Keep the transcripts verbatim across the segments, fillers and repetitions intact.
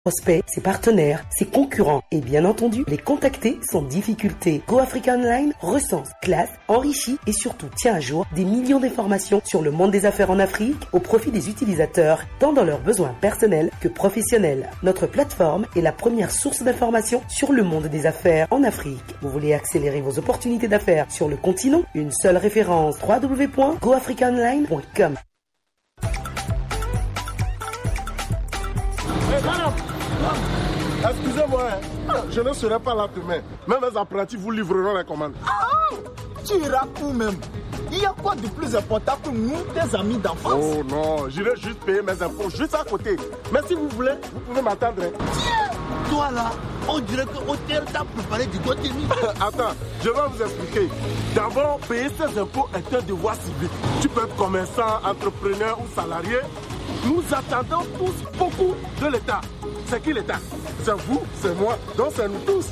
prospects, ses partenaires, ses concurrents et bien entendu les contacter sans difficulté. Go Africa Online recense, classe, enrichit et surtout tient à jour des millions d'informations sur le monde des affaires en Afrique au profit des utilisateurs, tant dans leurs besoins personnels que professionnels. Notre plateforme est la première source d'information sur le monde des affaires en Afrique. Vous voulez accélérer vos opportunités d'affaires sur le continent ? Une seule référence, w w w point go africa online point com. Hey, madame, excusez-moi, hein. Je ne serai pas là demain. Mais mes apprentis vous livreront les commandes. Ah, tu iras où même ? Il y a quoi de plus important que nous, tes amis d'enfance ? Oh non, j'irai juste payer mes impôts juste à côté. Mais si vous voulez, vous pouvez m'attendre, hein. Toi là, on dirait que O T L t'a préparé du goûter. Attends, je vais vous expliquer. D'abord, payer ses impôts est un devoir civique. Tu peux être commerçant, entrepreneur ou salarié. Nous attendons tous beaucoup de l'État. C'est qui l'État ? C'est vous, c'est moi, donc c'est nous tous.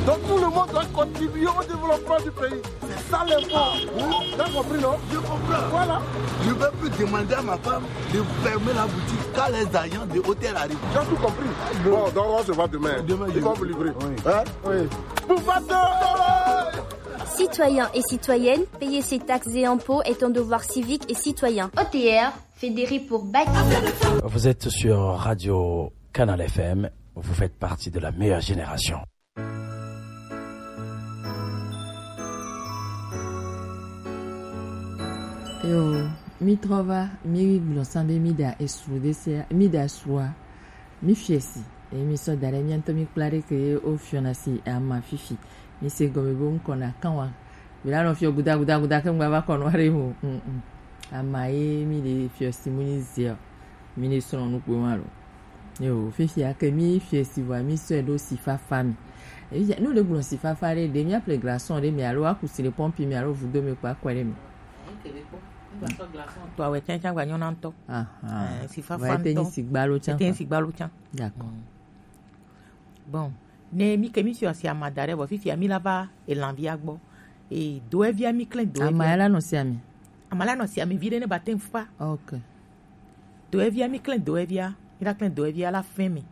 Donc tout le monde doit contribuer au développement du pays. C'est ça l'impôt. T'as compris, non ? Je comprends. Voilà. Je ne vais plus demander à ma femme de fermer la boutique quand les agents de O T L arrivent. Tu as tout compris ? Bon, donc on se voit demain. Demain, ils vont vous livrer. Hein ? Oui. Pour Citoyens et citoyennes, payer ses taxes et impôts est un devoir civique et citoyen. O T R, fédéré pour bâtir. Vous êtes sur Radio Canal F M, vous faites partie de la meilleure génération. Yo, mi trɔ va, mi gblɔ san be mi ɖa esru ɖe se, mi ɖa esrua, mi fiɛ si. Eye mi sɔ da ɖe mía ŋutɔ mi kpla ɖe ke ye wo fiɔna si ama fifi. Mi se gɔme be ŋkɔ na kan wa. Mi la nɔ fiɔ guda guda guda ke ŋgba va kɔ nɔ aɖe mo. Mm, mm. Ama ye mi ɖe fiɔ si mu nyi zia. Mi ne srɔ̃ nu kpe ma lo. Yo, fifia ke mi fiɛ si vɔa mi sɔe ɖo si fafa mi. Efia, nu ɖe gblɔ si fafa ɖe, ɖe mía ple glaçon ɖe mi alo aku si le pɔmpi mi alo vudo mi kpa kɔe ɖe mi. To awɛ tsã tsã gba nyɔna ŋutɔ. Aha. Eh, si fafa ŋutɔ. Ete nyi si gbalo tsã. Ete nyi si gbalo tsã. D'accord. Bon, ne mi ke mi sɔ si ama da ɖe vɔ fifia mi la va elanvia gbɔ. E doevia mi klẽ doevia. Ama ya la nɔ si ami. Ama la nɔ si ami vi ɖe ne ba te ŋu fa. Ok. Doevia mi klẽ doevia, mi la klẽ doevia la fɛn mi.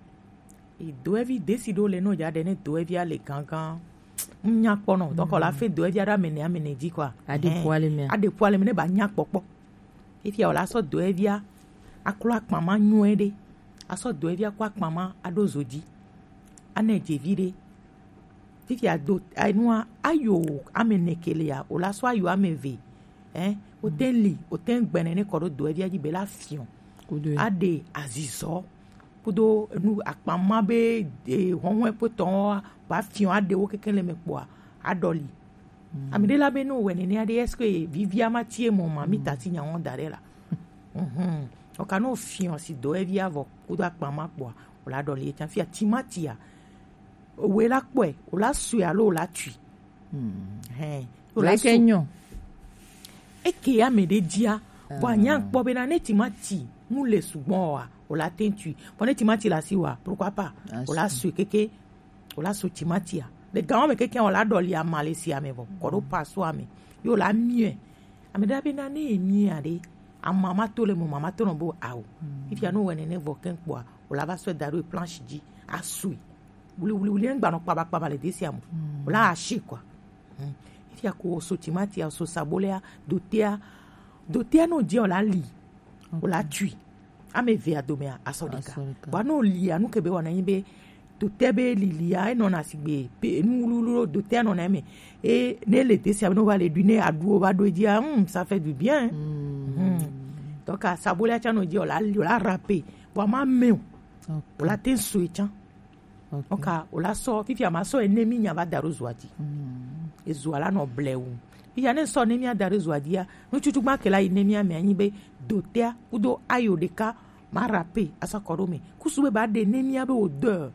E doevi desi ɖo le no ja ɖe ne doevia le gangan. Nya kpɔ nɔ, donc la fɛn doevia ɖo amene amene dzi quoi. Aɖe po ale mea. Aɖe po ale me ne ba nya kpɔkpɔ. Fifia wòle asɔ dɔ evia aklo akpama nyuie ɖe, asɔ dɔ evia kɔ akpama aɖo zo dzi, anɛ dze vi ɖe. Fifia do enua ayo ame ene ke lia, wòle asɔ ayo ame eve. Ɛ, wote li, wote gbɛnɛ ne kɔ ɖo dɔ evia dzi be la fiɔ. Aɖe azizɔ kudo enu akpama be hɔhɔe kpotɔ ba fiɔ aɖewo keke le me kpɔa aɖɔli. Ame ɖe la be ne wòwɔe nenea ɖe, est-ce que vivia ma tie mɔ ma mi ta si nya wɔn da ɖe la? Ɔka ne wòfiɔ si dɔ evia vɔ kudo akpa ma kpɔa, wòla ɖɔli etsa fia timatia. Wòe la kpɔe, wòla sue alo wòla tui. Hɛn, wòla ke nyɔ. Eke ame ɖe dzia, vɔ anya kpɔ be na ne timati mu le sugbɔ wa, wòla te tui. Vɔ ne timati la si wa, pourquoi pas? Wòla sue keke. Wòla su timatia. Le gawo me keke wòla ɖɔli ama le sia me vɔ. Kɔ ɖo pasoa me. Yo la miɛ. Ame ɖe be na ne ye miɛ aɖe. Ama ma to le mo, mama to nɔ bo awo. Fifia no wɔ nene vɔ keŋ kpɔa, wòla va sɔe da ɖo planche dzi. Asui. Wuli wuli wuli ŋgba nɔ kpaba kpaba le desia mo. Wòla ashi kɔa. Fifia ko so timatia, so sabolea, dotea. Dotea no dzi wòla li. Wòla tui. Ame evea domea asɔ ɖeka. Vɔa ne wòlia nu ke be wɔna nyi be dotea be lilia enɔna sigbe pe nu wluwlu ɖo dotea nɔna eme. E ne le desia be ne wova le ɖui ne aɖuwo va ɖo edzia, hmm, ça fait du bien. Hmm. Donc asabolia tsã nɔ dzi wòla li wòla rape. Vɔa ma me o. Wòla te sue tsã. Ok. Oka wòla sɔ fifia ma sɔ ene mi nya va da ɖo zoa dzi. Ezoa la nɔ blewu. Fifia ne sɔ ne mi ada ɖo zoa dzia, nutsutsu gba ke la yi ne mi ame anyi be dotea kudo ayo ɖeka ma rape asɔ kɔ ɖo me. Kusu be ba ɖe ne mi abe wo de.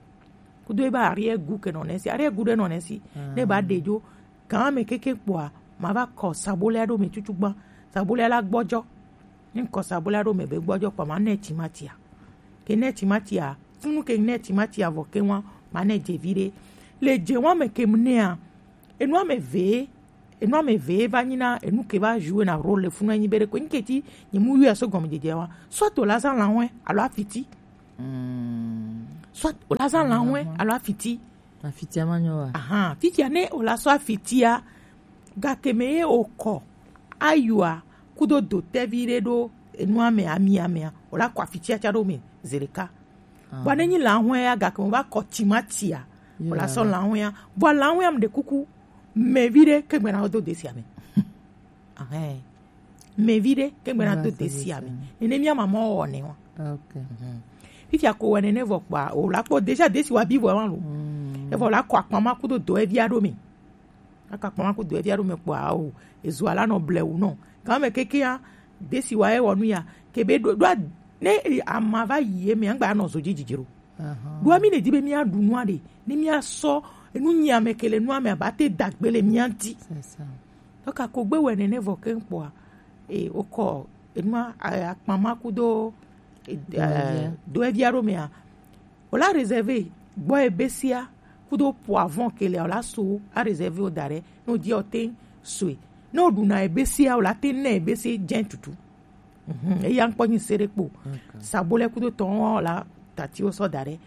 Kudo ebe arrière goût ke nɔ nesi, arrière goût ɖe nɔ nesi. Ne ba ɖe dzo kan me keke kpɔa, ma va kɔ sabolea ɖo me tsutsu gba. Sabolea la gbɔdzɔ. Ŋkɔ sabolea ɖo me be gbɔdzɔ kpɔ ma nɛ timatia. Ke nɛ timatia, funu ke nɛ timatia vɔ ke wa ma nɛ dze vi ɖe. Le dze wa me ke mu nɛa, enu ame ve, enu ame ve va nyi na enu ke va jouer na rôle le funu enyi be ɖe ko nyi ke ti nyi mu yɔ so gɔme dzedze wa. Soit to la za la wɛ alo afiti. Mm. Soit o la zã lanwe alo afiti. Afitia ma nyɔ wa. Ahan, fitia ne o la sɔ afitia, gake me ye o kɔ ayua kudo dotɛvi ɖe ɖo enua me, amia mea, o la kɔ afitia ca ɖo me zereka. Bua ne nyi lanwe ya, gake mo va kɔ timatia, o la sɔ lanwe ya. Bua lanwe ya mu ɖe kuku, mɛvi ɖe ke gbɛna do desi ame. Ahɛn. Mɛvi ɖe ke gbɛna do desi ame. Nene mia mama wɔ ne wa. Okay. Fifia ko wɛ nene vɔ kpa o la kpɔ déjà desi wa bi vɔ wa lo. Evɔ la kɔ akpama kudo do evia ɖo mi. Aka kpama kudo evia ɖo mi kpɔ o. Ezu ala nɔ blewu nɔ. Kan me keke ya desi wa e wɔ nu ya ke be ɖo ɖo ne ama va yi eme angba nɔ zo dzi dzidzi ɖo. Ɖoa mi ne di be mia ɖu nua ɖe ne mia sɔ enu nyi ame ke le nua me aba te dagbe le mia ŋti. Tɔka ko gbe wɛ nene vɔ ke kpɔa e o kɔ enua akpama kudo do evia ɖo mea o la réservé gbɔ ebesia kudo poivron ke le o la so a réservé o da ɖe no di o te soe ne o ɖu na ebesia o la te ne ebese jɛ tutu. Mhm, eya ŋkpɔ nyi se ɖe kpo. Sabo lɛ kudo tɔn wa la tati wo sɔ da ɖe.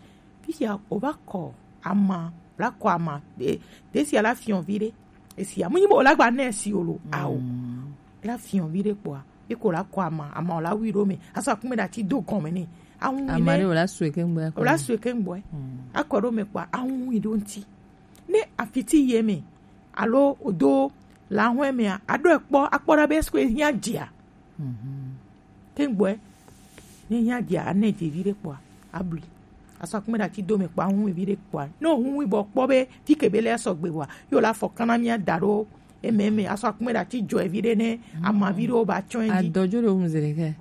Fifia o va kɔ ama, la kɔ ama. De, de sia la fiɔn vi ɖe. Esia mu nyi bo o la gba ne si o lo. Awo. La fiɔn vi ɖe kpoa. Eko la kɔ ama, ama o la wi ɖo me. Asa kume da ti do gɔme ne. Awu mi ne. Ama ɖe o la sue ke ŋgbɔ. O la sue ke ŋgbɔ. Akɔ ɖo me kpoa awu mi ɖo ŋti. Ne afiti ye me. Alo o do la hwe me a. Aɖo ekpɔ akpɔ ɖa be esko e hiã dzia. Te gbɔe ne nya dia ane dze vi ɖe kpɔa abli. Asɔ akpɛ ɖe ati do me kpɔa hu vi ɖe kpɔa ne o hu bɔ kpɔ be fi ke be le sɔgbe wa yo la fɔ kana mia da ɖo eme eme asɔ akpɛ ɖe ati dzɔ vi ɖe ne ama vi ɖewo ba tsɔ edzi. Adɔdzo ɖe ŋu zi ɖekɛ.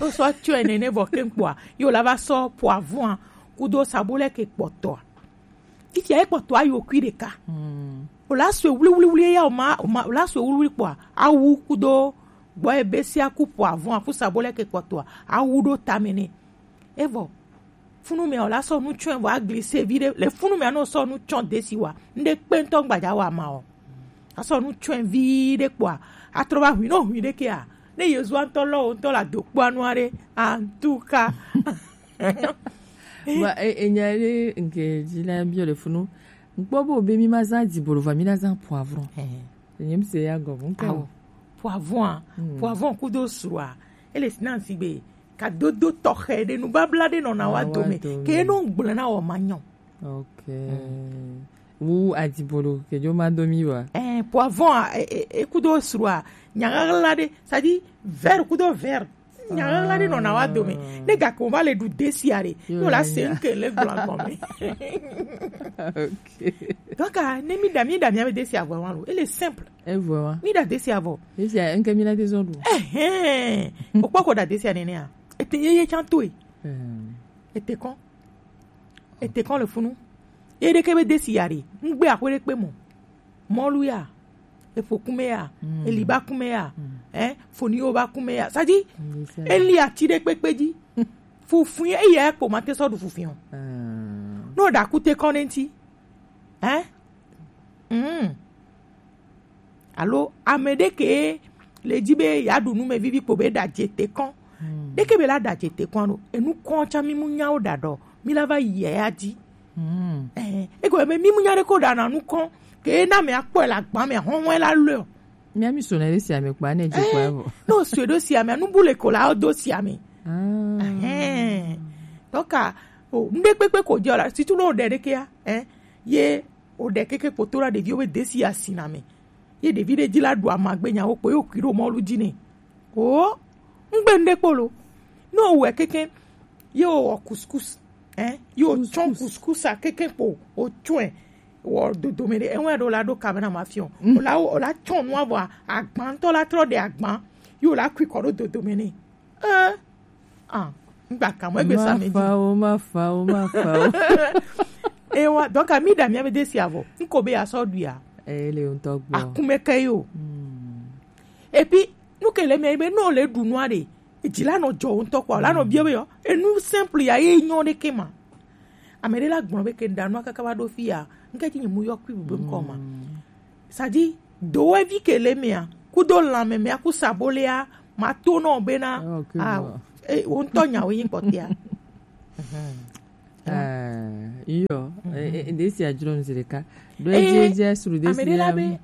O sɔ tsɔ ene ne vɔ ke kpɔa yo la va sɔ poivron kudo sabulɛ ke kpɔtɔa. Fifia ekpɔtɔ ayi okui ɖeka. O la sue wliwliwli eya o ma o ma o la sue wliwli kpɔa awu kudo gbɔ ebe sia ku poivron aku sabole ke kpɔtɔa awu ɖo tame nɛ. Evɔ funu mɛ o la sɔ nu tsɔe vɔ aglise vi ɖe le funu mɛ anɔ sɔ nu tsɔ desi wa ŋɖe kpe ŋtɔ gbadza wa ma o. Asɔ nu tsɔe vi ɖe kpɔa atrɔ va hui nɔ hui ɖe kea ne yezu ŋtɔ lɔ o ŋtɔ la do kpɔa nua ɖe antuka. Ba e enya ɖe nke dzi la biɔ le funu. Ŋkpɔ bo be mi ma zã dibolo va mi la zã poivron. Nye mi se ya gɔ ŋkɔ. Awo. Poivron a, poivron kudo srua. Ele si na si be ka dodo tɔxɛ ɖe nu babla ɖe nɔna wa dome. Ke no gblẽ na wɔ ma nyɔ. Ok. Wu adibolo ke jo ma do mi wa. Eh, poivron a, e kudo srua. Nyagagla ɖe, c'est-à-dire vert kudo vert. Nyagagla ɖe nɔna wa dome ne gake o va le ɖu desia ɖe ne o la se ŋke le gblɔ gɔme. Donc ne mi ɖa mi ɖa mi ame desia vɔ wa lo ele simple. Evɔ wa mi ɖa desia vɔ. Desia ŋke mi la te zɔ ɖu. Ɛhɛn o kpɔ ko ɖa desia nene a ete yeye can to e ete kɔn ete kɔn le funu ye ɖeke be desia ɖe ŋgbe aƒe ɖe kpe mɔ. Mɔlu ya, eƒo kume ya, eliba kume ya, eh, foniwo ba kume ya. Sadi, eli ati ɖe kpekpe dzi. Fufui eya ekpo ma te sɔ ɖu fufui o. No ɖa kute kɔn ne ŋti. Eh? Mm. Alo ame ɖe ke le dzi be ya ɖu nume vivi kpo be ɖa dze te kɔn. Ɖeke be la ɖa dze te kɔn ɖo. Enu kɔn tsa mi mu nyawo ɖa ɖɔ. Mi la va yi ya dzi. Eh, eko be mi mu nya ɖe ko ɖa na nu kɔn. Ke na me akpɔ le agba me hɔn la le. Mi ami so na ɖe sia me kpa ne dze kpa vo. No so ɖo sia me nu bu le ko la do sia me. Ɛhɛn. Tɔka o ŋɖe kpekpe ko dze o la situ no ɖe ɖeke ya. Eh, ye o ɖe keke kpoto la ɖeviwo be desi asi na me. Ye ɖevi ɖe dzi la ɖu amagbe nyawo kpo ye wokui ɖo mɔlu dzi nɛ. O ŋgbe ŋɖe kpo lo. Ne wowɔe keke ye wowɔ couscous. Eh, ye wotsɔ couscous a keke kpo wotsɔe wɔ dodome ɖe eŋu ɖo la ɖo kame na ma fiɔ. Wola wola tsɔ nua vɔ agba ŋutɔ la trɔ ɖe agba ye wola kui kɔ ɖo dodome nɛ. Eh, ah, ŋgba kamɔ egbe sa me dzi. Mafawo, mafawo, mafawo. Ewa, donc ami ɖa mi ame desi avɔ. Ŋko be asɔ ɖu ya. Eh, le ŋutɔ gbɔ. Akume ke yo. Et puis nu ke le mɛ be no le ɖu nua ɖe. Edzi la nɔ dzɔ ŋutɔ kpɔ la nɔ biɔ be yɔ. Enu simple ya ye nyɔ ɖe ke ma. Ame ɖe la gblɔ be ke ɖa nua kaka va ɖo fi ya. Ŋke dzi nyi mu yɔ kui bu be ŋkɔ ma. Sadi dowevi ke le mea kudo lãme mea ku sabolea ma to nɔ bena ah, eh, wo ŋutɔ nyawo yi kpɔtea. Ah, iyo, eh, eh, desi a jrom zirika. Do eje eje suru desi ame ɖe la be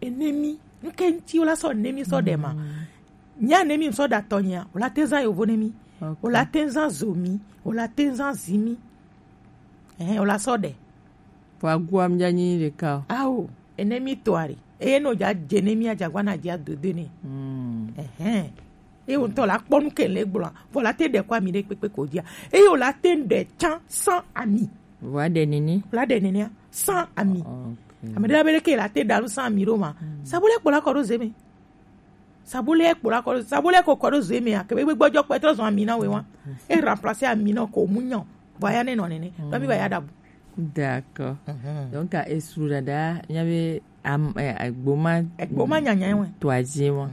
enemi, nke ŋuti wola sɔ enemi sɔ ɖe ma. Nya enemi sɔ ɖe atɔ nya, wola te zã yovo enemi. Wola te zã zomi, wola te zã zimi. Eh, wola sɔ ɖe. Vɔ agua mi dza nyi ɖeka o. Ao, enemi tɔ ari. Eye no dza dze enemi a dza gua na dzi a dodo ne. Ehɛn. Eye wòtɔ la kpɔ nu ke le gblɔa, vɔ la te ɖe kɔ ami ɖe kpekpe ko dzia. Eye wòla te ɖe tsã sans ami. Vɔ aɖe nini. Wòla ɖe nini a sans ami. Ok. Ame ɖe la be ɖeke la te ɖa nu sans ami ɖo ma. Sabo le kpɔ la kɔ ɖo zeme. Sabo le kpɔ la kɔ ɖo, sabo le ko kɔ ɖo zeme a, ke be gbɔdzɔ kpɛ trɔ zɔn ami na we wa. E remplacer ami na ko mu nyɔ. Vɔ ya ne nɔ nene. Vɔ mi va ya ɖa bu. D'accord. Donc, esru ɖaɖa, nya be am, eh, egboma, egboma nyanya wɛ. To azi wɛ.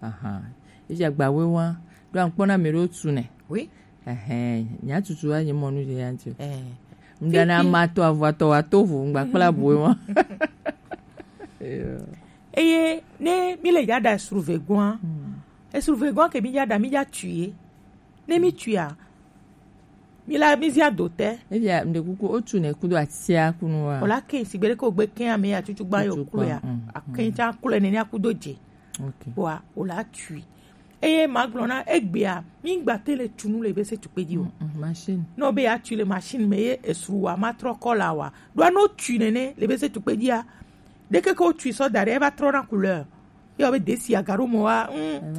Ahan. Efi agbawe wa. Do ankpɔ na mi ɖo tu ne. Oui. Ehɛn, nya tutu wa nye mɔnu de ya nti. Eh. Mdana ma to avɔ to wa to vo ngba kpla boe wa. Eye ne mi le ya da esru ve gɔa. Esru ve gɔa ke mi ya da mi ya tuye. Ne mi tuya. Mi la mi zia do te. Efi a mde kuku o tu ne kudo atia kunu wa. Ola ke sigbe ko gbe ke ame ya tutu gba yo klo ya. Aken ta klo ne ni akudo je. Ok. Wa ola tui. Eye ma gblɔ na egbea mi gba te le tunu le be se tukpe di o. Machine. No be ya tui le machine me ye esru wa ma trɔ kɔ la wa. Do no tui nene le be se tukpe dia. Deke ko tui sɔ da ɖe eva trɔ na couleur. Ye be desi aga ɖo mɔ wa.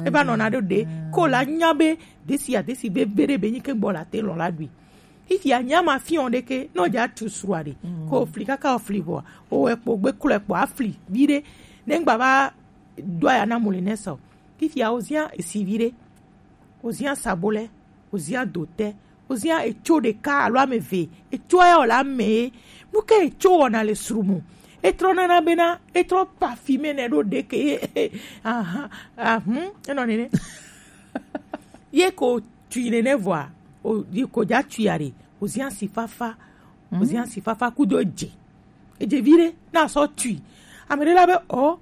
E va nɔ na ɖo de. Ko la nya be desi ya desi be be ɖe be nyi ke gbɔ la te lɔ la ɖui. Fifi a nya ma fiɔ ɖeke no ja tu srua ɖe. Ko fli kaka o fli vɔ. O ekpo gbe klo ekpo afli. Vi ɖe. Ne ngba va do aya na moulinette o. Fifia wozia esivi ɖe, wozia sabolɛ, wozia dotɛ, wozia etso ɖeka alo ame eve, etso ya wòle ame ye. Nu ke etso wɔna le srumu? Etrɔ nana bena etrɔ parfume nɛ ɖo ɖeke ye. Ahan, ahun, enɔ nene. Ye ko tui nene vɔa, o yi ko ja tui are, wozia sifafa, wozia sifafa kudo dze. Edze vi ɖe na sɔ tui. Ame ɖe la be o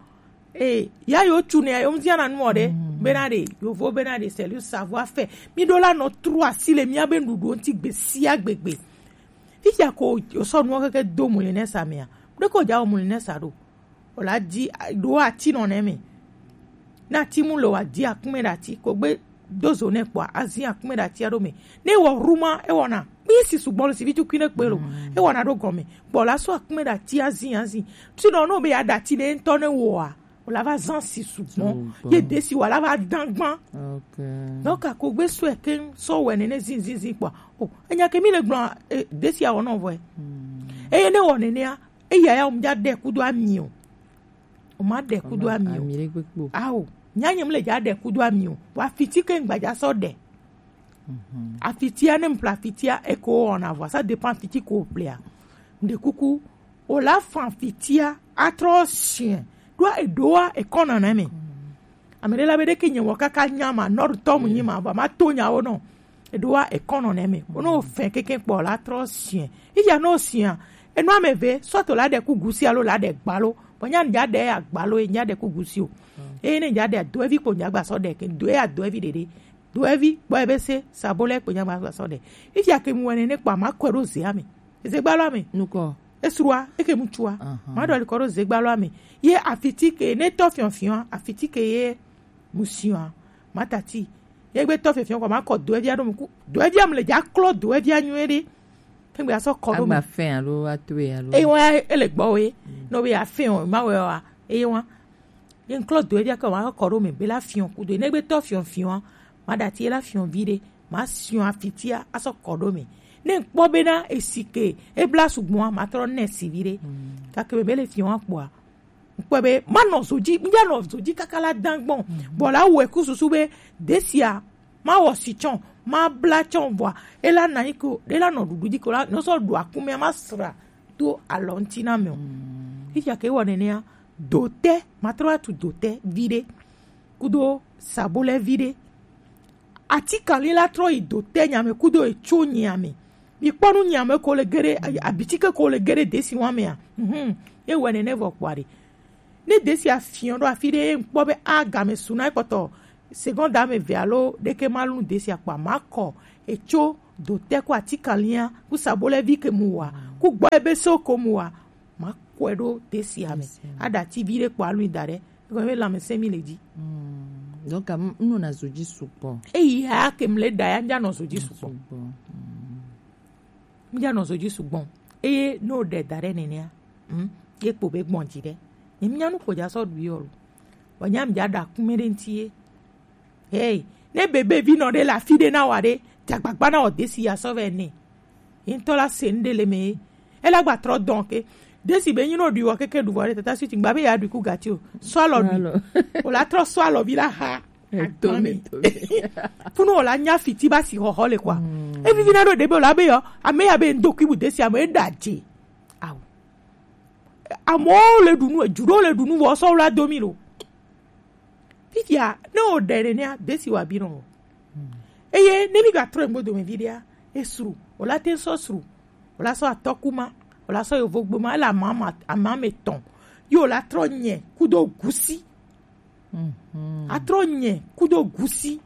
Ee, ya yo tu ne yo mzia na nuɔ ɖe. Bena ɖe yovo bena ɖe c'est le savoir faire. Mi ɖo la nɔ tro asi le mia be nuɖuɖu ŋuti gbe sia gbegbe. Fifia ko o sɔ nuɔ keke do moulinette sa mea. Ɖe ko ja o moulinette sa ɖo. O la di ɖo ati nɔ ne me. Na ti mu le wa di akume ɖe ati ko gbe do zo ne kpɔa azi akume ɖe ati aɖo me. Ne wɔ ruma ewɔna kpi si sugbɔ le si vi tukui ne kpe lo. Ewɔna ɖo gɔme. Kpɔ la sɔ akume ɖe ati azi azi. Ti nɔ no be ya ɖe ati ɖe ŋutɔ ne wɔa. Wòle va zã si sugbɔ. Ye desi wòle va dã gbã. Donc akogbe sɔe keŋ sɔ wɛ nene zinzinzin kpɔa. O enya ke mi le gblɔ desi awɔ nɔ vɔe. Eye ne wɔ nenea eya ya wòm dza ɖe kudo ami o. O ma ɖe kudo ami o. Awo nya nyem le dza ɖe kudo ami o. Wa fiti ke ŋgbadza sɔ ɖe. Afitia ne mpla afitia eko wɔna vɔa, ça dépend afiti ko mplia. Mde kuku o la fan afitia atrɔ sien. Ɖoa eɖoa ekɔna na me. Ame ɖe la be ɖeke nye wɔ kaka nya ma nɔɖutɔ mu nyi ma vɔ ma to nyawo nɔ. Eɖoa ekɔnɔ na me. Ono fɛn keke kpɔ la trɔ sien. Iya no sien. Enu ame ve sɔto la ɖe ku gusi alo la ɖe gbalo. Bɔ nya nya ɖe agbalo nya ɖe ku gusi o. Eye ne nya ɖe do evi kpo nya gba sɔ ɖe ke do ya do evi ɖeɖe. Do evi kpɔ ebe se sabo le kpo nya gba sɔ ɖe. Ifia ke mu wene ne kpɔ ma kɔ ɖo zea me. Eze gbalo ame. Nukɔ. Esrua eke mutsua. Ma ɖo alikɔ ɖo ze gbalo ame. Ye afiti ke ne tɔ fiɔfiɔ afiti ke ye musia. Ma tati. Ye gbe tɔ fiɔfiɔ kɔ ma kɔ do evia ɖo mu ku. Do evia mu le dza klɔ do evia nyuie ɖe. Kegbe asɔ kɔ ɖo mu. Agba fɛn alo atoe alo. Eye wa ele gbɔ we. No be afɛn o ma wɛ wa. Eye wa. Ye ŋklɔ do eɖia ke ma kɔ ɖo me be la fiɔ kudo ne gbe tɔ fiɔ fiɔ ma ɖati la fiɔ vi ɖe ma siɔ afitia asɔ kɔ ɖo me ne ŋkpɔ bena esi ke ebla sugbɔa ma trɔ nɛ si vi ɖe kake me be le fiɔ kpɔa ŋkpɔ be ma nɔ zo dzi mi ya nɔ zo dzi kaka la dan gbɔn bɔ la wɛ ku susu be desia ma wɔ si tsɔ ma bla tsɔ vɔa ela na yi ko ela nɔ ɖuɖu dzi ko la nɔ sɔ ɖu akumea ma sra to alɔ ŋuti na me o. Fifia ke wɔ nenea dotɛ matrɔ atu dotɛ vi ɖe kudo sabolɛ vi ɖe ati kali la trɔ yi dotɛ nyame kudo etso nyame mi kpɔ nu nyame ko le geɖe abitike ko le geɖe desi wa mea mhm ye wɔ nene vɔ kpɔ aɖe ne desi afiɔ ɖo afi ɖe ye ŋkpɔ be a game su na ekpɔtɔ seconde ame eve alo ɖeke ma lu desi akpa ma kɔ etso do te ku ati kalia ku sabole vi ke mu wa ku gbo ebe so ko mu wa ma kwe do desi ame ada ti vi de kpo alu da de ko be la me se mi le di. Donc, m- m nɔna zo dzi sugbɔ. Eya ke mle da ya mja no zo dzi sugbɔ. Sugbɔ. Mja no zo dzi sugbɔ. Eye no de da de nene a. Hmm. Ye kpo be gbɔn dzi de. Ni mja nu ko ja so du yo lo. Wa nya mja da kume de nti ye. Hey, ne bebe vi nɔ de la fi de na wa de. Ja gbagba na o desi ya so ve ne. Ŋutɔ la se nu ɖe le me ye. Ela gba trɔ dɔn ke desi be nyi no ɖui wɔ keke ɖu vɔ ɖe tata suti gba be ya ɖui ku gati o. Sɔ alɔ ɖui. O la trɔ sɔ alɔ vi la ha. Etome. Funu o la nya fiti ba si xɔxɔ le kwa. Evivi na ɖo ɖe be o la be yɔ ame ya be ŋdo kui bu desi ame e ɖa dze. Awo. Amewo le ɖu nu edu ɖewo le ɖu nu vɔ sɔ wla do mi lo. Fifia ne o ɖe nenea desi wa bi nɔ. Eye ne mi ga trɔ egbo dome vi ɖea esru o la te sɔ sru o la sɔ atɔkuma o la sɔ yovogboma ele ama ama ama me tɔn. Ye o la trɔ nyɛ kudo gusi. Atrɔ nyɛ kudo gusi.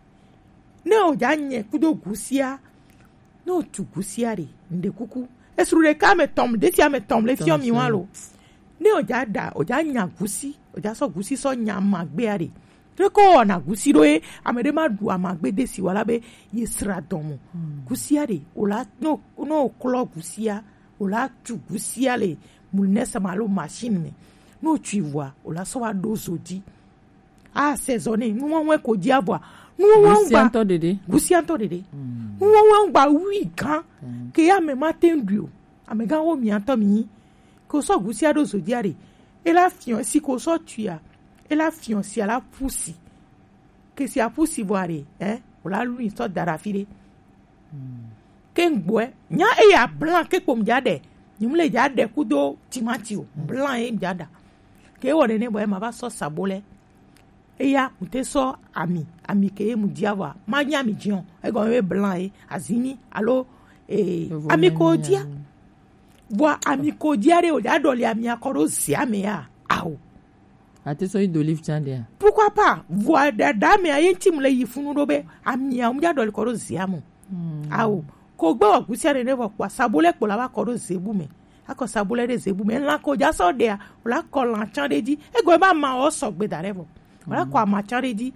Ne o ja nyɛ kudo gusia ne o tu gusia ɖe ŋɖe kuku esru ɖeka ame tɔm ɖe sia ame tɔm le fiɔ mi wa lo. Ne o ja ɖa o ja nya gusi o ja sɔ gusi sɔ nya amagbea ɖe. Ɖe ko wɔna gusi ɖo ye ame ɖe ma ɖu amagbe de si wala be ye sra dɔn mo. Gusia ɖe o la no no klɔ gusia o la tu gusia le mulnɛsama alo machine me. No tu vɔa o la sɔ wa ɖo zo dzi. Asezɔne nuwɔwɔe ko dzi avɔa. Nuwɔwɔe ŋgba gusia ŋutɔ ɖeɖe. Gusia ŋutɔ ɖeɖe. Nuwɔwɔe ŋgba wui gã ke ya ame ma te ŋɖui o. Amegã wo mia ŋutɔ mi. Ko sɔ gusia ɖo zo dzia ɖe. Ela fiɔ si ko sɔ tuia. Ela fiɔ si ala pusi. Ke si apusi vɔa ɖe. Eh, wòla lui sɔ da ɖe afi ɖe. Ke ŋgbɔɛ nya eya blan ke kpom dza ɖe. Nyim le dza ɖe kudo timati o. Blan ye dza ɖa. Ke wɔ nene bɔ ema va sɔ sabo lɛ. Eya mu te sɔ ami ami ke ye mu dia vɔa ma nye ami dziɔ egɔme be blan ye azimi alo ee ami ko dia. Vɔa ami ko dia ɖe o dza ɖɔli ami akɔ ɖo zia me ya awo. Ate sɔ yi do lift an dia. Pourquoi pas? Vɔa dada me aye ŋti mu le yi funu ɖo be ami awo mu dza ɖɔli kɔ ɖo zia mo. Awo ko gbe wɔ gusia nene vɔ kpɔ sabo lɛ kpɔ la va kɔ ɖo zebu me. Akɔ sabo lɛ ɖe zebu me lan ko dza sɔ ɖea o la kɔ lan tsan ɖe dzi. Egɔme be ama wɔ sɔgbe da ɖe vɔ o la kɔ ama tsan ɖe dzi.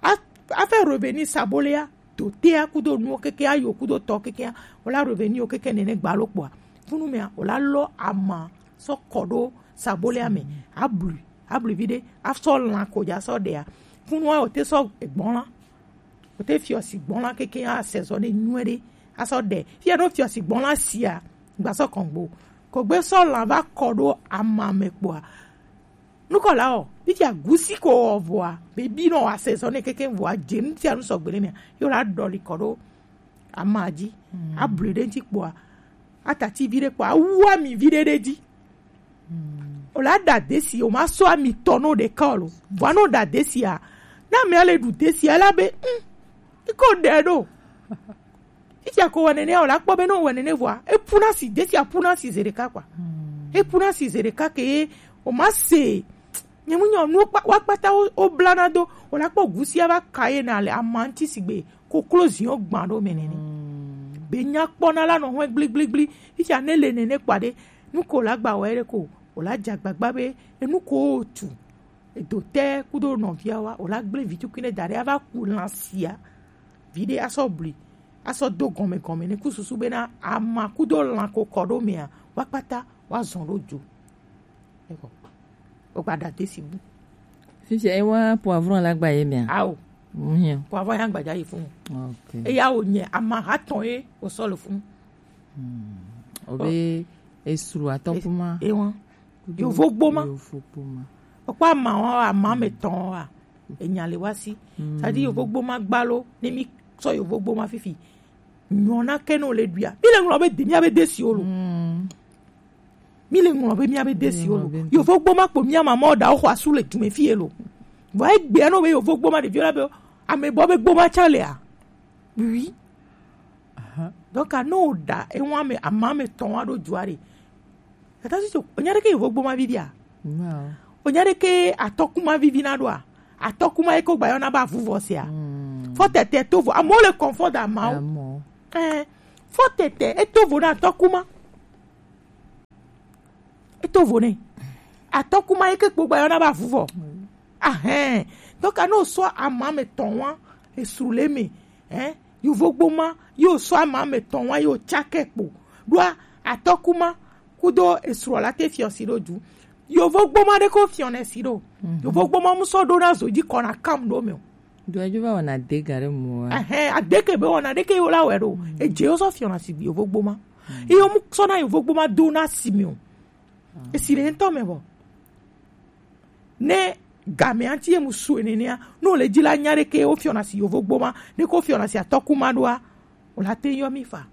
Afɛ reveni sabo lɛ ya do tea kudo nuwo keke ayo kudo tɔ keke o la reveni o keke nene gba lo kpɔa funu mea o la lɔ ama sɔ kɔ ɖo sabo lɛ ya me. Ablu ablu vi ɖe asɔ lan ko dza sɔ ɖea funu wa o te sɔ gbɔn la. O te fiɔ si gbɔn la keke asɛzɔ ne nyuɛ ɖe asɔ ɖe fia ɖo fiɔ si gbɔn la sia gbasɔ kɔngbo ko gbe sɔ lan va kɔ ɖo ama me kpɔa. Nukɔla ɔ fifia gusi ko ɔ vɔa bebi nɔ asɛzɔ ne keke vɔa dze nu sia nu sɔgbe ne mia yo la ɖɔli kɔ ɖo ama dzi. Ablu ɖe ŋti kpɔa atati vi ɖe kpɔa awu ami vi ɖe ɖe dzi. O la ɖa desi o ma sɔ ami tɔ no ɖeka o lo vɔa no ɖa desi a na mi ale ɖu desi a la be mm iko ɖe ɖo. Fifia ko wɔ nene o la kpɔ be no wɔ nene vɔa epuna si desi a puna si ze ɖeka kpɔa epuna si ze ɖeka ke ye o ma se nye mu nyɔ nu wa kpata o bla na do o la kpɔ gusia va ka ye na le ama ŋti sigbe koklozi wo gbã ɖo me nene. Be nya kpɔ na la nɔ hɔn gbligbligbli fifia ne le nene kpɔa ɖe nu ko la gba wɔ ye ɖe ko o la dza gbagba be enu ko o tu edo te kudo nɔvia wa o la gble vi tukui ne da ɖe ava ku lan sia vi ɖe asɔ bli asɔ do gɔme gɔme ne ku susu be na ama kudo lan ko kɔ ɖo mea wa kpata wa zɔn ɖo dzo. Eko o gba ɖa desi bu. Fifia e wa poivron la gba ye mea. Awo. Poivron ya gbadza yi funu. Eya wo nye ama ha tɔn ye o sɔ le funu. O be esru atɔ kuma. Ewa yovo gboma. Yovo gboma. Okpa ama wa ama me tɔn wa enya le wa si. Sadi yovo gboma gbalo ne mi sɔ yovo gboma fifi. Nyɔna ke no le duia mi le ŋlɔ be de mi abe desi o lo. Mi le ŋlɔ be mi abe desi o lo yovo gboma kpo mi ama mɔ da o xɔ asu le dume fi ye lo. Vɔ egbea no be yovo gboma ɖevi la be ame bɔ be gboma tsa lea. Oui. Donc a no da ewa me ama me tɔn wa ɖo dua ɖe. Tata si tso onya ɖe ke yovo gboma vi dia. Onya ɖe ke atɔkuma vivi na ɖoa. Atɔkuma ye ko gba yɔna ba vuvɔ sia. Fɔ tɛtɛ to vɔ amewo le confort da mawo. Ɛɛ Fo tete, e to vo na atɔkuma. E to vo ne. Atɔkuma ye ke kpogba yɔ na ba vuvɔ. Ahɛn. Donc, ano so ama me tɔn wa, esru le me. Hein? Yovo gboma, yo so ama me tɔn wa, yo tsake kpo. Ɖoa, atɔkuma, kudo esru la te fiɔsi ɖo ju. Yovo gboma ɖe ko fiɔnɛ si ɖo. Yovo gboma mu sɔ ɖo na zo ji kɔ na kam ɖo me o. Do edzo va wɔna de ga ɖe mo wa. Ɛhɛn, adeke be wɔna ɖeke yo la wɛ ɖo. Edze yo sɔ fiɔna si yovo gboma. Iyo mu sɔ na yovo gboma do na si mi o. Esi le ntɔ me bɔ. Ne game anti ye mu su enenea, no le dzi la nya ɖeke wo fiɔna si yovo gboma, ne ko fiɔna si atɔkuma ɖoa, o la te yɔ mi fa.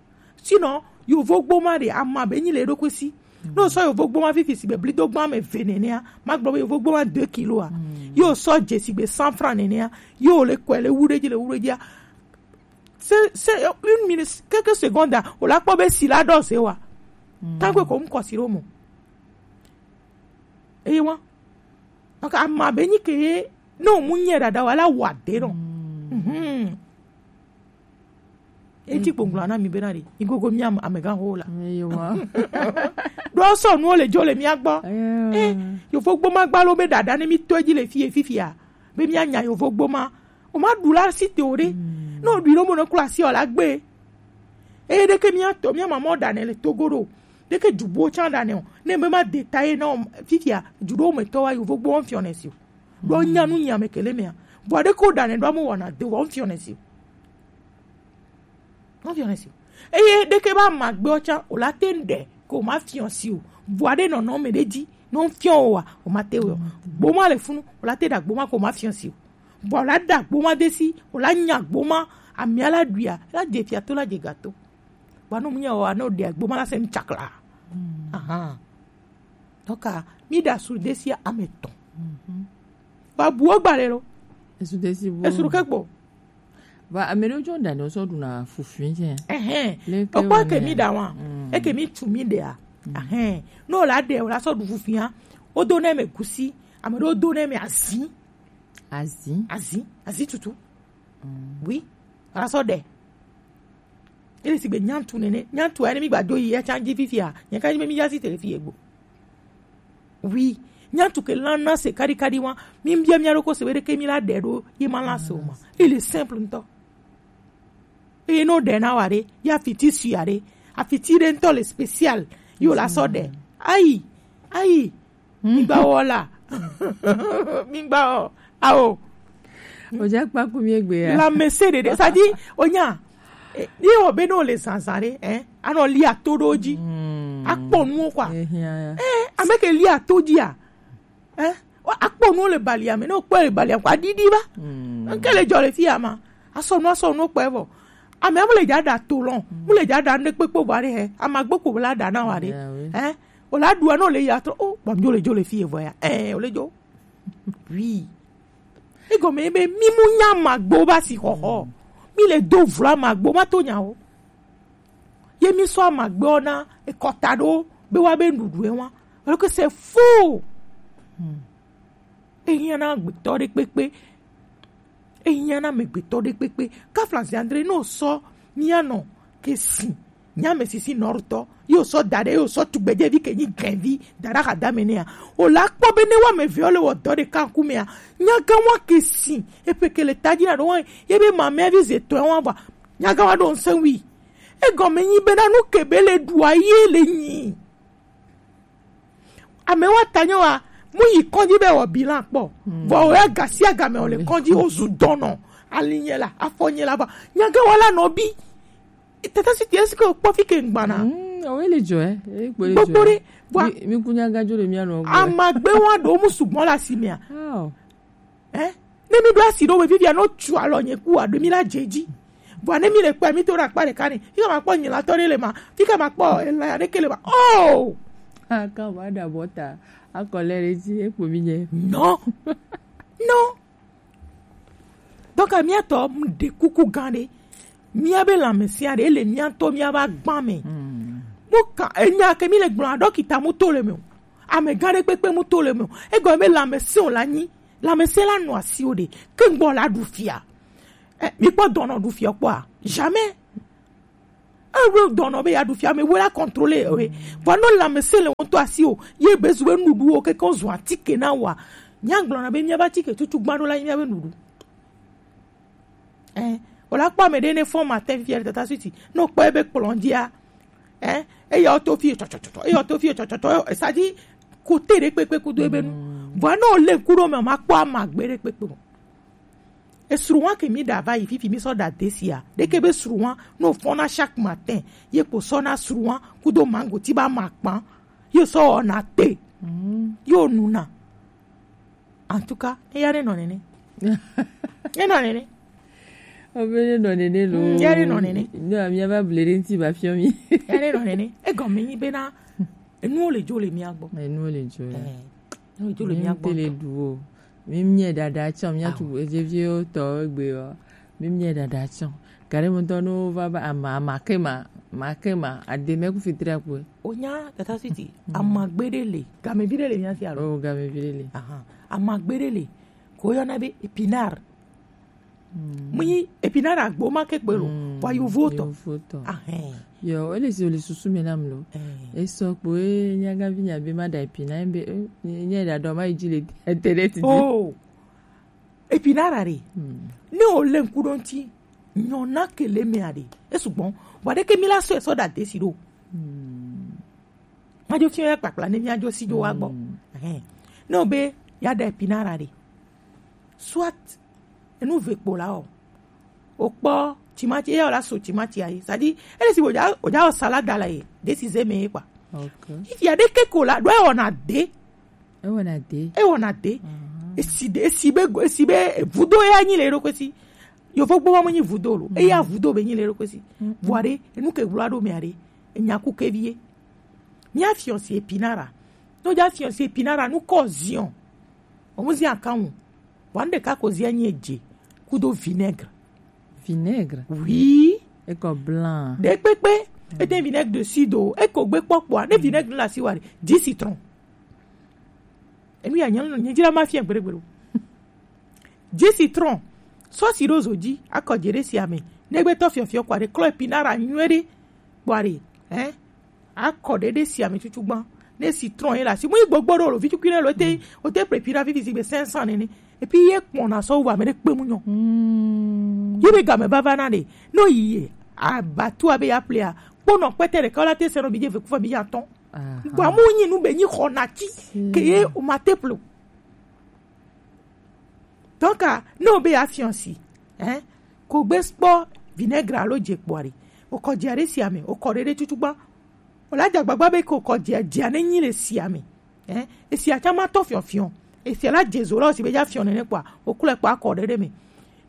Sinon, yovo gboma ɖe ama be nyi le ɖo kwesi. No sɔ yovo gboma fifi si be blido gbã me ve nenea, ma gblɔ be yovo gboma deux kilo a. Yo sɔ dze si be cent francs nenea, yo le kɔe le wu ɖe dzi le wu ɖe dzia. C'est, c'est une minute, quelques secondes, o la kpɔ be si la ɖɔ se wa. Tangwe ko mu kɔ si ɖo mo. Eye wa. Donc, ama be nyi ke ye, no mu nye ɖaɖa wa la wa de no. Mhm. Eti gbonglo na mi be na ɖi. Igogo mi am-, amegan ho la. Eye wa. Ɖo sɔ nuwo le dzo le mia gbɔ. Eh, yovo gboma gba lo be ɖaɖa ne mi to edzi le fie fifia. Be mia nya yovo gboma. O ma ɖu la si te o ɖe. No ɖu no mo no kula si o la gbe. Eye ɖeke mia to, mia mama o ɖa ne le Togo ɖo. Ɖeke dzubo tsa ɖa ne o. Ne be ma détailler na o fifia, dzuɖo me tɔ wa yovo gboma fiɔ ne si o. Ɖo nya nu nya me kele mea. Vɔ ɖeke o ɖa ne ɖo amo wɔna de wa o fiɔ ne si o. Eye ɖeke ba ma gbe ɔtsa o la te ŋɖe ko ma fiɔ si o. Vɔa ɖe nɔnɔ me ɖe dzi, no fiɔ o wa, o ma te wɛ o. Gboma le funu, o la te ɖa gboma ko ma fiɔ si o. Vɔa o la ɖa gboma de si, o la nya gboma, amia la ɖuia, la dze fia to, la dze gato. Vɔa no mu nya o wa, no ɖe gboma la se nu tsakla. Ahan. Donc, mi ɖa su de si ame tɔn. Vɔa bu o gba le lo. Esu de si bu. Esu ke gbo. Va, ame ɖewo tsɔ ɖa ɖewo sɔ ɖuna fufui tsɛ. Ɛhɛn. Leke o kpɔ ke mi ɖa wa. Eke mi tu mi ɖea. Ɛhɛn. No la ɖe o la sɔ ɖu fufui ya. O do ne me gusi. Ame ɖewo do ne me azi. Azi. Azi. Azi tutu. Oui. O la sɔ ɖe. Ele si gbe nyantu nene. Nyantu ya ne mi gba do yi ya tsa dzi fifia. Nye ka dzi be mi ya si te le fi ye gbo. Oui, nyantu ke lan na se kadi kadi wa, mi bia mi aro ko se be ɖeke mi la ɖe ɖo, ye ma lan se o ma. Il est simple ŋutɔ. Eye no ɖe na wa ɖe, ya fiti si ya ɖe, afiti ɖe ŋutɔ le spécial, yo la sɔ ɖe. Ayi, ayi, mi gba wɔ la, mi gba wɔ, awo. O ja kpa ku mi egbe ya. La me se ɖeɖe, ça dit, o nya, eh, ye wɔ be no le zanzan ɖe, eh, anɔ li ato ɖo dzi. Akpɔ nuwo kɔa. Eh, ame ke li ato dzia. Eh, wa akpɔ nuwo le balia me, ne wokpɔe le balia me kɔa, aɖiɖi va. Nke le dzɔ le fi ya ma. Asɔ nu, asɔ nu kpɔe vɔ. Ame mu le dza ɖa to lɔ, mu le dza ɖa ne kpekpe va ɖe he. Ama gbe ko la ɖa na wa ɖe. Eh, o la ɖua no le ya trɔ. O, bɔ mi dzo le dzo le fi ye vɔ ya. Eh, o le dzo. Oui. Egɔme ye be mi mu nya magbo ba si xɔxɔ. Mi le do vla magbo ma to nya o. Ye mi sɔ amagbe ɔ na ekɔta ɖo be wa be nuɖuɖu e wa. Alors que c'est faux. Ehiã na agbetɔ ɖe kpekpe. Ehiã na amegbetɔ ɖe kpekpe. Kafla André no sɔ mia nɔ ke si. Nya me sisi nɔrutɔ. Yo sɔ da ɖe, yo sɔ tugbedzevi ke nyi gɛnvi. Da ɖe axadame nɛa. O la kpɔ be ne wa me ve o le wɔ dɔ ɖeka ŋkumea. Nya gã wa ke si. Epe ke le ta dzi na ɖo wa. Ye be mamea vi ze tɔe wa va. Nya gã wa ɖo ŋsɛn wi. Egɔme nyi be na nu ke be le ɖua ye le nyi. Ame wa ta nyo wa, mu yi kɔdzi be wɔ bilan kpɔ. Vɔ o ya gasi agame o le kɔdzi o zu dɔnɔ. Ali nye la, afɔ nye la va. Nya gã wa la nɔ bi. Tata si ti esi ke o kpɔ fi ke ŋgbana. Mm, awo ele dzɔ, eh. Ele kpo ele dzɔ. Gbogbo ɖe, vɔa. Mi, mi ku nya gã dzo le mia nɔ gbɔ. Amagbe wa ɖo mu sugbɔ la si mea. Oh. Eh? Ne mi ɖo asi ɖo we vivia no tsu alɔ nye ku a ɖo mi la dze dzi. Vɔa ne mi le kpɔe mi to ɖe akpa ɖeka ne. Fi ke ma kpɔ nyilatɔ ɖe le ma. Fi ke ma kpɔ elaya ɖeke le ma. Oh! Aka va ɖe abɔ ta. Akɔ le ɖe dzi ekpo mi nye. Non. Non. Donc, mía tɔ mu ɖe kuku gã ɖe. Mía be lãmesẽ ɖe le mía tɔ mía ba gbã me. Mu ka enya ke mi le gblɔ ɖɔkita mu to le me o. Ame gã ɖe kpekpe mu to le me o. Egɔme be lãmesẽ o la nyi. Lãmesẽ la nɔ asiwo ɖe. Ke ŋgbɔ la ɖu fia. Eh, mi kpɔ dɔnɔ ɖu fia kpɔa? Jamais. Ewe dɔnɔ be ya ɖu fia me, we la contrôler we. Vɔ no lãmesẽ le ŋutɔ asi o. Ye be zu be nuɖuɖuwo keke wo zu atike na wa. Nya gblɔna be mía be atike tutu gbã ɖo la nyi mía be nuɖuɖu. Eh, o la kpɔ ame ɖe ne fɔ matin fifia le tata suiti. Ne o kpɔ ebe kplɔ̃ dzia, eh, eya o to fie tsɔtsɔtsɔ, eya o to fie tsɔtsɔtsɔ, esa dzi kote ɖe kpekpe kudo ebe nu. Vɔa ne o le ŋku ɖo me, o ma kpɔ amagbe ɖe kpekpe o. Esruwa ke mi ɖa va yi fifi mi sɔ ɖa desia. Ɖeke be sruwa, ne o fɔna chaque matin, ye kpo sɔna sruwa kudo mango ti ba ma kpan, ye sɔ wɔna te, ye o nuna. En tout cas, eya ne nɔ nene. Enɔ nene. Obe ne nɔ nene lo. Mm, ya ne nɔ nene. No, amia va ble ɖe ŋti va fiɔ mi. Ya ne nɔ nene. Egɔme nyi bena enuwo le dzo le mia gbɔ. Enuwo le dzo. Eh, enuwo le dzo le mia gbɔ. Mi te le ɖu o. Mi mie ɖaɖa tsɔ, mia tu ezeviwo tɔ egbe o. Mi mie ɖaɖa tsɔ. Gare mo tɔ no va ba ama, ama ke ma, ma ke ma, ade me ku fitri akwe. Onya tata siti, amagbe ɖe le, gamevi ɖe le mia si alo? Oh, gamevi ɖe le. Aha, amagbe ɖe le. Ko yɔna be épinard. Mu yi épinard agbo ma ke gbe lo. Wa yovo tɔ. Yovo tɔ. Ahɛn. Yo, ele si oli susu me nam lo. Eh. Esɔ kpo e nyagavi nya be ma da épinard be, eh, nya da dɔ ma yi dzi le internet dzi. Oh. Épinard ɖe. Ne o le ŋku ɖo ŋti, nyɔna ke le mea ɖe. Esu gbɔn. Wa ɖe ke mi la sɔ esɔ da desi ɖo. Madzo fiɔ ya kpakpla ne miadzo si dzo wa gbɔ. Ɛhɛn. Ne o be ya ɖe épinard ɖe. Soit enu ve kpo la o. O kpɔ timati, eya o la so timati ayi. C'est-à-dire, ele si o ja, o ja o salade la ye. Desi ze me ye kpa. Ok. Ifi ya ɖe ke ko la, ɖo e wɔna de. E wɔna de. E wɔna de. Esi de, esi be, esi be vudo ya nyi le ɖo kwesi. Yovo gbɔ ma mo nyi vudo lo. Eya vudo be nyi le ɖo kwesi. Vɔa ɖe, enu ke gblɔ ɖo mea ɖe. Enya ku ke vie. Mia fiɔnsi épinard. No ja fiɔnsi épinard nu ko zion. O mu zion kan. Vɔa nu ɖeka ko zion nyi edze. Kudo vinaigre. Vinaigre? Oui. Eko blanc. Ɖe kpekpe. Ete vinaigre de cidre. Eko gbe kpɔkpɔa. Ne vinaigre la si wa ɖe. Jus citron. Enu ya nyɛ nyɛ dzra ma fia gbeɖe gbeɖe. Jus citron. Sɔ si ɖo zo dzi, akɔ dze ɖe sia me. Ne gbe tɔ fiɔfiɔ kɔ ɖe klɔ épinard nyuie ɖe. Kpɔ ɖe. Hein? Akɔ ɖe ɖe sia me tutu gbã. Ne citron ye la si mu yi gbogbo ɖo lo vi tukui ne lo te, o te ple épinard vivi si gbe cinq cents nene. Et puis ye kpɔna sɔ wu ame ɖe kpe mu nyɔ. Ye be game vava na ɖe. No yi ye. Abatu abe ya plea. Kpɔnɔ kpɛtɛ ɖeka la te se nɔ bi dze ve kufa bi ya tɔn. Gbɔ amu nyi nu be nyi xɔ nati ke ye o ma te plo. Donc, ah, ne o be ya fiɔnsi, hein, ko gbe kpɔ vinaigre alo dze kpɔ ɖe. O kɔ dze ɖe sia me, o kɔ ɖe ɖe tutu gbã. O la dze agbagba be ko kɔ dze dze ne nyi le sia me. Hein, esia tsa ma tɔ fiɔfiɔ. Esia la dze zo la o si be ya fiɔ nene kpɔa, o klɔ kpɔ akɔ ɖe ɖe me.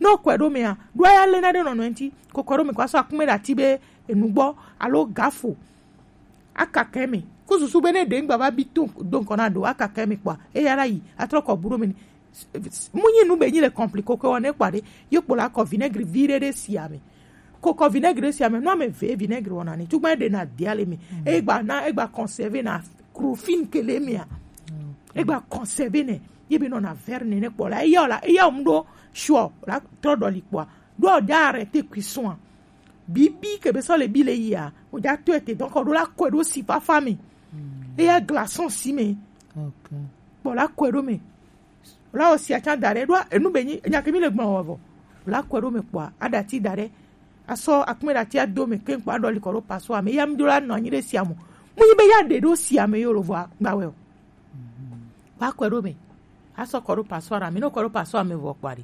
Ne o kɔe ɖo mea, ɖo ya le na ɖe nɔnɔ ŋti, ko kɔ ɖo me ko asɔ akume ɖe ati be enu gbɔ alo gafo. Akaka eme. Ku susu be ne ɖe ŋgba va bi to do ŋkɔ na ɖo akaka eme kpɔa, eya la yi atrɔ kɔ bu ɖo me ni. Mu nyi nu be nyi le compliqué ko wɔ ne kpɔa ɖe, ye kpo la kɔ vinaigre vi ɖe ɖe sia me. Ko kɔ vinaigre ɖe sia me, nu ame ve vinaigre wɔna ni. Tugba ɖe na dia le me. E gba na, e gba conserver na crofin ke le mea. E gba conserver ne. Ye be nɔ na verre ne ne kpɔ la. Eya la, eya mu ɖo sure la trɔ ɖɔ li kpɔa. Ɖo ja arrêter cuisson. Bibi ke be sɔ le bi le yia, o ja to ete donc o ɖo la kɔe ɖo si fafa me. Eya glaçon si me. Ok. Kpɔ la kɔe ɖo me. O la o si atsa da ɖe ɖo enu be nyi enya ke mi le gbɔn wɔ vɔ. O la kɔe ɖo me kpɔa, aɖati da ɖe. Asɔ akume ɖati ado me ke kpɔ aɖɔ li kɔ ɖo passoire me. Ya mi ɖo la nɔ anyi ɖe sia mo. Mu yi be ya ɖe ɖo sia me yo lo vɔ gba wɛ o. Wa kɔe ɖo me. Asɔ kɔ ɖo passoire me. No kɔ ɖo passoire me vɔ kpɔa ɖe.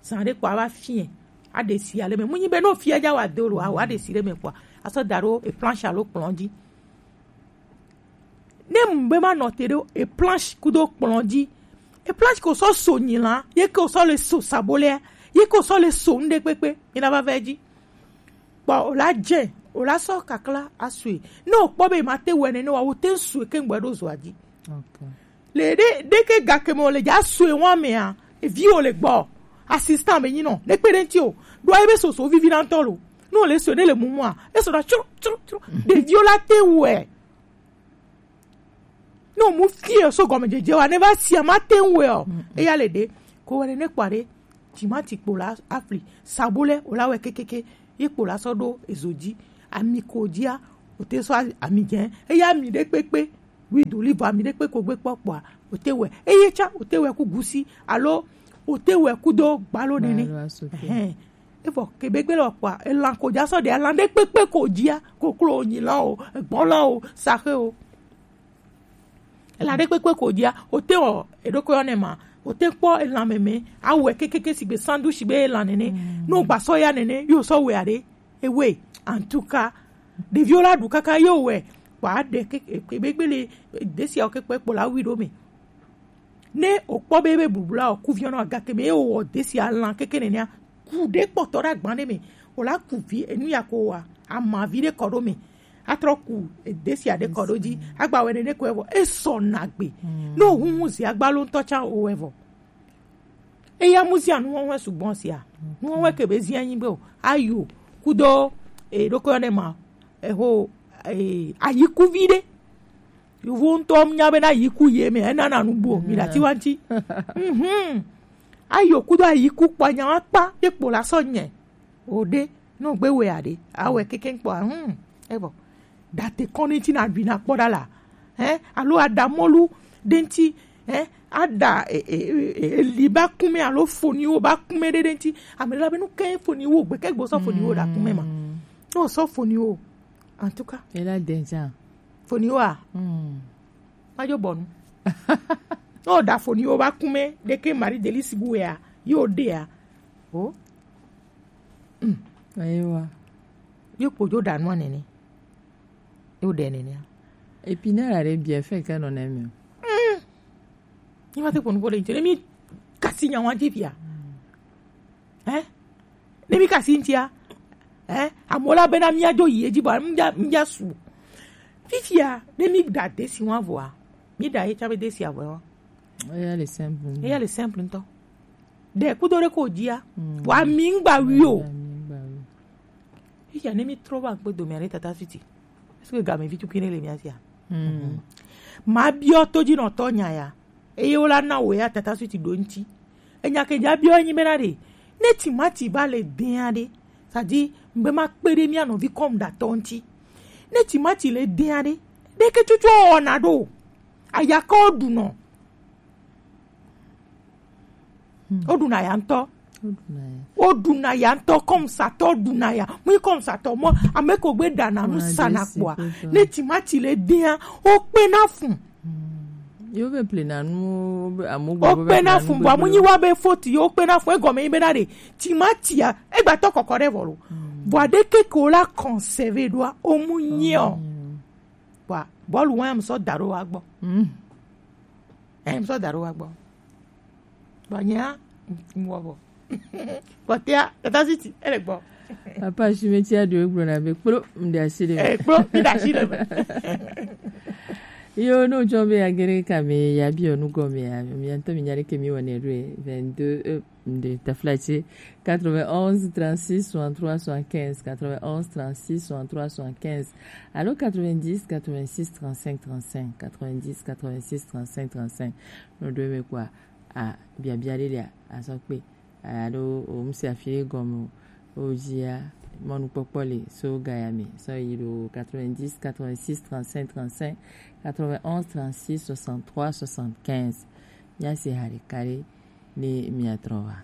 Zan ɖe kpɔa va fie. Aɖe si ale me. Mu nyi be no fie ja wa do lo, a wa ɖe si ɖe me kpɔa. Asɔ da ɖo e planche alo kplɔn dzi. Ne mu be ma nɔ te ɖo e planche kudo kplɔn dzi. E planche ko sɔ so nyi la, ye ko sɔ le so sabolea, ye ko sɔ le so nu ɖe kpekpe. Mi na va va edzi. Kpɔ o la dze, o la sɔ kakla asue. Ne o kpɔ be ma te wɛ ne ne wa, o te sue ke ŋgbɛ ɖo zoa dzi. Ok. Le ɖe ɖe ke gake me o le dza sue wa mea, evi o le gbɔ. Assistant be nyi nɔ, ne kpe ɖe ŋti o. Ɖo ayi be soso vivi na ŋtɔ lo. Ne o le sue ne le mumua, e sɔ na tsro tsro tsro. Ɖeviwo la te wɛ. Ne o mu fie so gɔmedzedze wa ne va sia ma te ŋu wɛ o. Eya le ɖe ko wɛ ne kpɔ ɖe timati kpo la afli sabo lɛ o la wɛ kekeke ye kpo la sɔ ɖo ezo dzi. ami ko jia, o te sɔ ami jɛ, eya ami ɖe kpekpe, wi do li vɔ ami ɖe kpekpe ko gbe kpɔ kpɔa, o te wɛ, eye tsa, o te wɛ ku gusi, alo o te wɛ ku do gbalo nene. Gbalo asoke. Ɛhɛn. Evɔ kebe gbe lɔ kpɔa, elan ko ja sɔ ɖe, elan ɖe kpekpe ko jia, koklo nyi lan o, egbɔn lan o, saxe o. Elan ɖe kpekpe ko jia, o te wɔ, eɖokɔ yɔ ne ma, o te kpɔ elan mɛmɛ, awɛ kekeke sigbe sandu sigbe elan nene, no gba sɔ ya nene, yo sɔ wɛ aɖe, ewe, en tout cas, ɖeviwo la ɖu kaka yo wɛ, kpɔ aɖe keke, kebe gbe le, desi awo kekpe kpɔ la wi ɖo me. Ne o kpɔ be, be bubula o kuviɔ nɔ agake me, ye o wɔ desi alan keke nenea, ku ɖe kpɔtɔ ɖe agban ɖe me, o la ku vi, enu ya ko wa, amavi ɖe kɔ ɖo me, atrɔ ku desi aɖe kɔ ɖo dzi, agba wɛ nene ko evɔ, esɔ nagbe. Ne o huhu zi agba lo ŋutɔ tsa o evɔ. Eya mu zia nuwɔwɔ sugbɔ sia. Nuwɔwɔ ke be zia nyi be o. Ayo, kudo, e, ɖokɔ ne ma, eho, e, ayikuvi ɖe. Yovo ŋutɔ nya be na yiku ye me, ena na nugbo, mi ɖati wa ŋuti. Mhm. Ayo kudo ayiku kpɔ nya wa kpa, ye kpo la sɔ nye. O ɖe, no gbe we aɖe, awɛ keke kpɔ, hmm, evɔ. Date kɔni ti na ɖui na kpɔ ɖa la. Hein? Alo aɖa mɔlu ɖe ŋuti, hein? Aɖa, e, e, e, e, eli ba kume alo foniwo ba kume ɖe, ɖe ŋuti. Ame ɖe la be nu ke foniwo gbe ke gbɔ sɔ foniwo ɖa kume ma. No sɔ foniwo. En tout cas. Et là, déjà. Foniwo a? Hmm. Majo bɔnu. No da foniwo ba kume ɖe ke Marie Delice bu ya. Yo ɖe ya. Oh. Ewa. Yo kpojo ɖa nua nene. Yo ɖe nene. Et puis ne la re bien fait que non aime. Ni ma te kpɔ nuko le ŋuti. Ne mi kasi nya wa dzi fia. Eh? Ne mi kasi ŋutia. Eh? Amewo la bena mia dzo yi edzi bɔ mia, mia su. Fifia, ne mi ɖa desi wa vɔa, mi ɖa ye tsa be desi avɔ wa. Eya le simple. Eya le simple ŋutɔ. Ɖe kudo ɖe ko dzia. Wa mi ŋgba wi o. Wa mi ŋgba wi. Fifia ne mi trɔ va ŋkpe dome aɖe tata suti. Est-ce que game vi tukui ne le mia sia? Mabiɔ to dzi nɔ tɔ nya ya. Eye wo la na wo ya tata suti ɖo ŋuti. Enya ke dza biɔ enyi bena ɖe, ne timati va le dɛn aɖe, c'est-à-dire, mgbe ma kpe ɖe mia nɔvi kɔm ɖatɔ ŋuti. Ne timati le dɛn aɖe, ɖeke tsotso wɔna ɖo. Ayaka wo ɖunɔ. Wo ɖuna ya ŋutɔ. Wo ɖuna ya ŋutɔ, kɔmsatɔ ɖuna ya. Mu yi kɔmsatɔ mɔ, ame ko gbe ɖana nu sana kpɔa. Ne timati le dɛn, wo kpena fun. Yo be plena nu, be amu gbo be kpena fun, bɔ amu nyi wa be foti yo kpena fun, egɔme yi be na ɖe timatia egbatɔ kɔkɔ ɖe vɔ lo. Bɔ aɖe ke ko la conserver ɖoa, o mu nyi o. Bɔ bɔlu wa mu sɔ da ɖo wa gbɔ. Em sɔ da ɖo wa gbɔ. Bɔ nya mu wɔ bɔ. Kpɔtɛa, tata siti, ele gbɔ. Papa, si me tia do egblɔ na be kplo, m de asi ɖe. Eh, kplo, mi da asi ɖe. Yo, no jɔ be agere ka me ya bi onu gɔme ya. Mi anto mi nyare ke mi wane do vingt-deux, euh, de taflache. Quatre-vingt-onze, trente-six, soixante-trois, soixante-quinze. Quatre-vingt-onze, trente-six, soixante-trois, soixante-quinze. Alo quatre-vingt-dix, quatre-vingt-six, trente-cinq, trente-cinq. Quatre-vingt-dix, quatre-vingt-six, trente-cinq, trente-cinq. No do me kwa. A, biabia ɖe lia, azɔ kpe. Alo o mu si afi ɖe gɔme o, o dzia, mɔnukpɔkpɔ le so gaya me, sɔ yi ɖo quatre-vingt-dix, quatre-vingt-six, trente-cinq, trente-cinq, quatre-vingt-onze, trente-six, soixante-trois, soixante-quinze. Mia se ha ɖeka ɖe ne mia trɔ va.